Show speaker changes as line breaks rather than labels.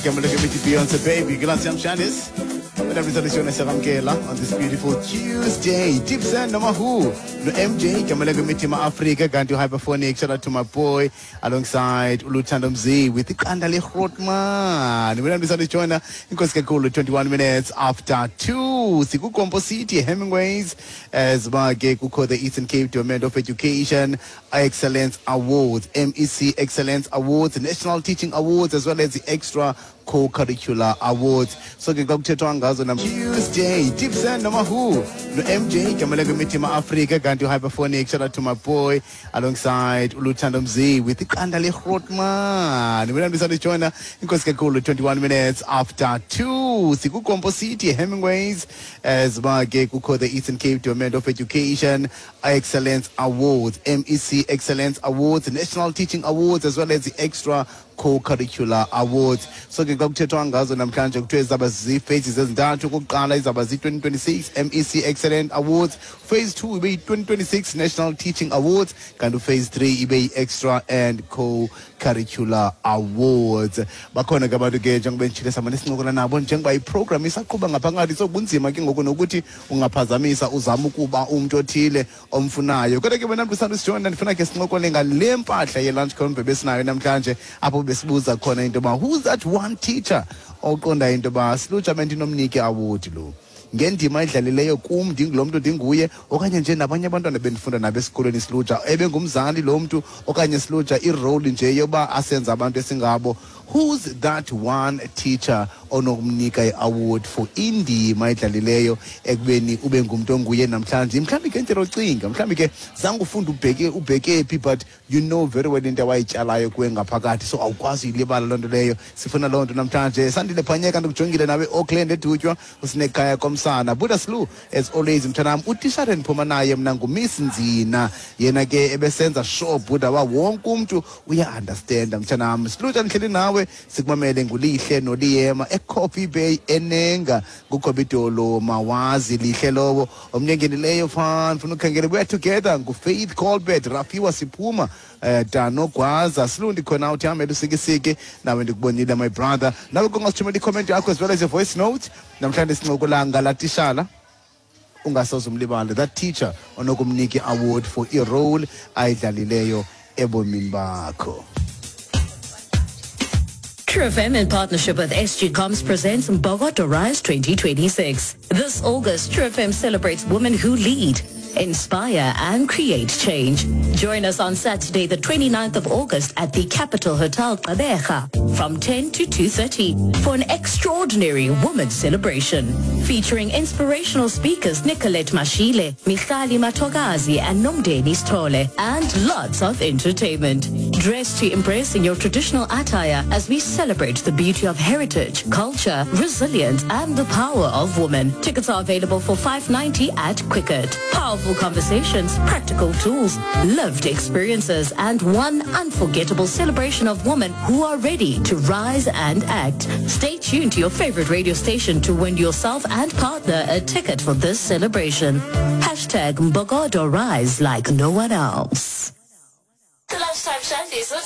Igama lakhe bithi Beyonce Baby. Glass yam Shanice. Wena mzalishona siyakwamkela on this beautiful Tuesday. Gibson noma who? No MJ igama lakhe mithi Ma-Africa kanti Hyperphonic. Shout out to my boy alongside Uluthando Mzi with iqanda leGrootman. Wena mzalishona inkosi kakhulu 21 minutes after 2. Sikukompo City Hemingways as ba ke kukho the Eastern Cape Department of Education Excellence Awards, MEC Excellence Awards, National Teaching Awards as well as the Extra Co-Curricular Awards. So ke xa kuthethwa ngazo nam Tuesday, Gibson noma who? No MJ igama lakhe mithi Ma-Africa kanti Hyperphonic. Shout out to my boy alongside Uluthando Mzi with iqanda leGrootman. Wena mzalishona inkosi kakhulu 21 minutes after 2. Sikukompo City Hemingways as ba ke kukho the Eastern Cape Department of Education Excellence Awards, MEC Excellence Awards, National Teaching Awards as well as the Extra Co-Curricular Awards. So ke xa kuthethwa ngazo namhlanje kuthiwe zaba zii-phases ezintathu. Okokuqala izaba zii-2026 MEC Excellence Awards, phase 2 ibe yi-2026 National Teaching Awards, kanti uphase 3 ibe yi-Extra and Co-Curricular Awards. Bakhona ke abantu ke njengoba nditshile samane sincokola nabo njengoba iprogram isaqhuba ngaphakathi, so kunzima ke ngoku nokuthi ungaphazamisa uzame ukuba umntu othile omfunayo. Kodwa ke wena mntu usanda usijoyina, ndifuna ke sincokole ngale mpahla ye-lunch convo besinayo namhlanje, apho besibuza khona into yoba who's that one teacher oqondayo into yoba silutsha bendinomnika i-award lo ngendima edlalileyo kum ndingulo mntu ndinguye, okanye nje nabanye abantwana bendifunda nabo esikolweni silutsha, ebengumzali lo mntu, okanye silutsha irole nje yoba asenza abantu esingabo. Who's that one teacher onokumnika i-award for indima edlalileyo ekubeni ube ngumntu onguye namhlanje? Mhlawumbi ke ndlela ocinga, mhlawumbi ke zange ufunde ubheke phi, but you know very well into awayityalayo kuwe ngaphakathi, so awukwazi uyilibala loo nto leyo. Sifuna loo nto namhlanje. Sandile Phanyeka, ndikujongile nawe Auckland eDutywa, usinekhaya komsana Buddha Slu as always. Mntanam, utishara endiphuma naye mna nguMiss Nzina, yena ke ebesenza sure Buddha uba wonke umntu uya-understanda. Mntanam Silutsha, ndihleli nawe sikumamele nguLihle noLiyema eCoffee Bay enenga ngukhobidolo mawazi lihle lowo omnye ngenileyo phaa ndifuna ukhangela. We are together nguFaith Colbert Rafiwa siphuma Dano Gwaza Silundi khona uthi hambe lusikisiki nawe ndikubonile my brother. Nawe kungasithumela i-comment yakho as well as a voice note. Namhlanje sincokola ngala tishala ungasoze umlibale, that teacher onokumnika i-award for irole ayidlalileyo ebomini bakho.
True FM in partnership with SG Comms presents Mbokodo Rise 2026. This August, True FM celebrates women who lead, inspire and create change. Join us on Saturday, the 29th of August at the Capital Hotel Gqeberha from 10 to 2:30 for an extraordinary women's celebration featuring inspirational speakers Nicolette Mashile, Michali Matogazi and Nomdeni Stole, and lots of entertainment. Dress to impress in your traditional attire as we celebrate the beauty of heritage, culture, resilience and the power of women. Tickets are available for 5.90 at Quicket. Powerful conversations, practical tools, lived experiences and one unforgettable celebration of women who are ready to rise and act. Stay tuned to your favorite radio station to win yourself and partner a ticket for this celebration. Hashtag Mbokodo Rise like no one else. The Lunchtime Shandies with